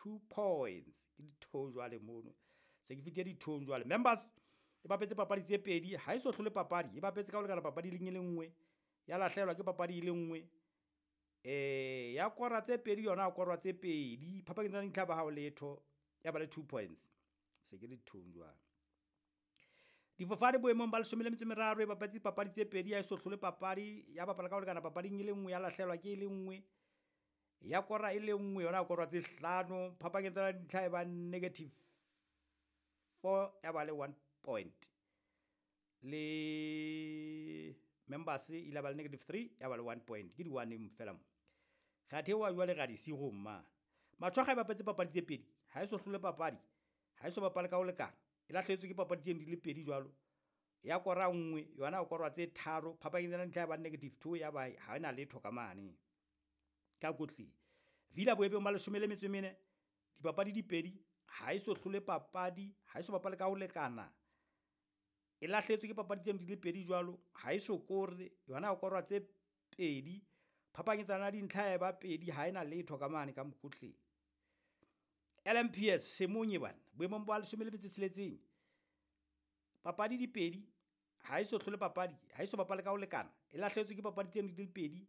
2 points. Ke ditho jwale mono. Se ke fitile dithong jwale. Members e bapetse papadi tse pedi, ha e so hlole papadi, e bapetse ka ho lekana papadi e le nngwe. Ya lahlehelwa ke papadi e le nngwe. Ya kora tse pedi yona ya korwa tse pedi. Phapang tsa dintlha ba hao letho ya ba le 2 points. Se ke dithong jwale. Difofane boemong ba 13 e bapetse papadi tse pedi, ya so hlole papadi, ya bapala ka ho lekana papading e le nngwe, ya lahlehelwa ke e le nngwe. Ya kora e le nngwe yona ya korwa tse hlano. Phapang tsa dintlha e ba negative 4 ya ba le 1 point. Le members e ile ba le negative 3 ya ba le 1 point. Ke di 1 fela mo. Ga thewa jwale ga di sigo mma. Matshwaga e bapetse papadi tse pedi, ha e so hlole papadi, ha e so bapale ka ho lekana. E lahlehetswe ke papadi tse di le pedi jwalo. Ya kora nngwe yona ya korwa tse tharo. Phapang tsa dintlha ya ba negative 2 ya ba ha ena letho ka mane. Ka kotleng. Villa boemong ba 14, dipapadi di pedi, ha e so hlole papadi, ha e so bapale ka ho lekana. E lahlehetswe ke papadi tse di le pedi jwalo, ha e so kore, yona ya korwa tse pedi. Phapang tsa dintlha ya ba pedi, ha ena letho ka mane ka mokotleng. LMPS Semonye bana boemong ba 16, papadi di pedi, ha e so hlole papadi, ha e so bapale ka ho lekana. E lahlehetswe ke papadi tse di le pedi,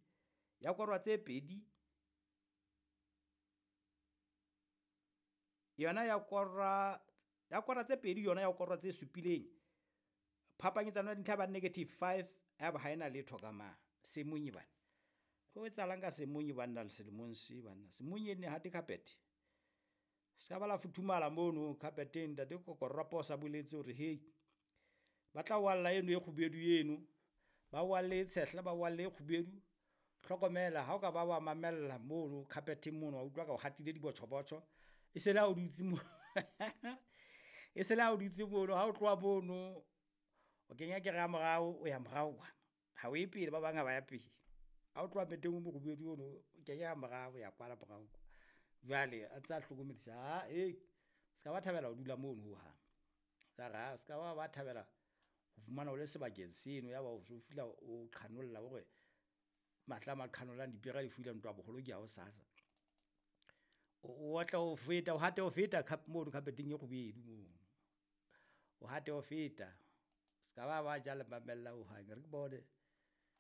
ya korwa tse pedi. Yona ya korwa tse pedi, yona ya korwa tse supileng. Phapang tsa dintlha ba negative 5 ya ba ha ena letho ka ma. Semonye bana. Ho etsahalang ka Semonye bana le selemong se bana. Semonye ne hate carpet. Se ka ba la futhumala mono carpeteng, ntate Kokorwa posa boletse hore hey, ba tla walla eno e kgubedu eno. Ba walle tshehla, ba walle e kgubedu. Hlokomela ha o ka ba wa mamella mono carpeteng mono, wa utlwa ka o hatile dibotjhobotjho. E se le ha o dutse mo. E se le ha o dutse mono, ha o tloha mono o kenya kere ya morao, o ya morao kwana. Ha o ye pele, ba bang ha ba ya pele. Ha o tloha meteng o mokgubedu ono, o kenya ya morao, o ya kwana morao. Jwale a ntse a hlokomedisa, ha se ka ba thabela ho dula mono hohang. Ka re ha se ka ba thabela ho fumana o le sebakeng seno, ya ba o so fihla o qhanolla hore matla a maqhanollang dipere di fuila ntwa boholo ke ya hosasa. O otla ho feta, o hate ho feta mono carpeteng e kgubedu mono. O hate ho feta. Se ka ba ja le mamella hohang. Re ke bone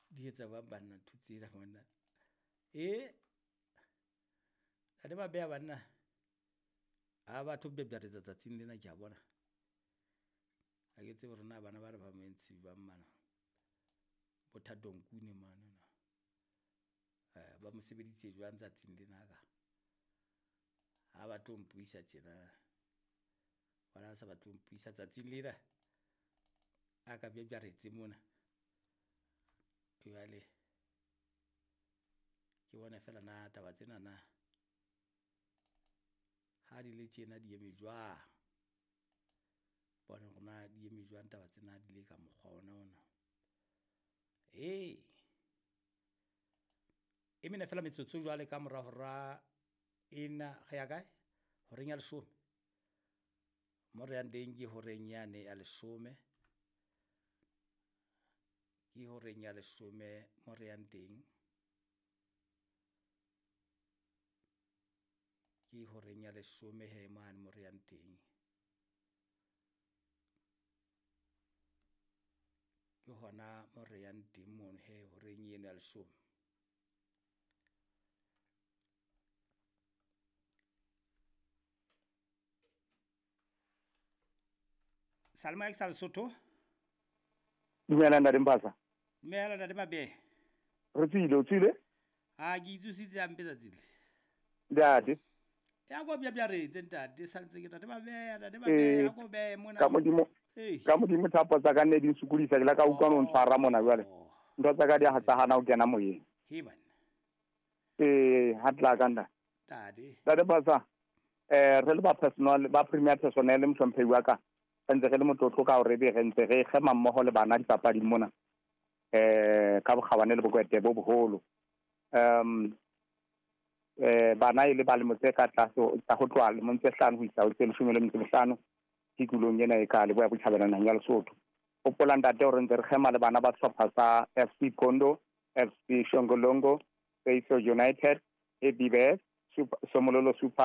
di etsa ba banna ntho tsena monna. Ntate ba beha banna. Ha batho bebjaretsa tsatsing lena ke a bona. Ha ke tsebe hore na bana ba re ba moentsi ba mmana. Bothato Nkune mane na. Ba mo sebeditse jwang tsatsing lena ka. Ha ba tlo mpuisa tjena. Bona sa ba tlo mpuisa tsatsing lena. A ka bebjaretse mona. Jwale ke bona fela na taba tsena na. Ha di le tjena di eme jwang. Bona hore na di eme jwang taba tsena di le ka mokgwa ona ona. E mene fela metsotso jwale ka mora hora ena re ya kae? Horeng ya 10. Mo re yang teng ke horeng yane ya 10. Ke horeng ya 10 mo re yang teng. Ke horeng ya 10 he mane mo re yang teng. Ke hona mo re yang teng mono he horeng eno ya 10. Salma ke sa Lesotho. Dumela ntate Mpasa. Dumela ntate Mabe. Re tsile, o tsile? Ha ke itsositse hampe tsatsi le. Ntate. Ya go bjabjaretse ntate, santse ke ntate Mabe, ntate Mabe, ya go be mona. Ka modimo. Ka modimo thapo tsa ka nne di nsukulisa, ke la ka utlwa no ntshwara mona jwale. Ntho tsa ka di a tsahana ho kena moyeng. He bana. Ha tla ka nna. Ntate. Ntate Mpasa, re le ba personal, ba premier personnel mohlomphehi wa ka. Ntse re le motlotlo ka hore be re ntse re kgema mmoho le bana dipapading mona. Ka bokgabane le bokwete bo boholo. Bana e le ba lemo tse ka tlase tsa ho tloha lemong tse 5 ho isa ho tse 15 tikolong ena e ka Leboya Botjhabela naheng ya Lesotho. Hopola ntate hore ntse re kgema le bana ba sehlopha sa FC Kondo, FC Shongolongo, Seiso United, ABBS, Somololo Super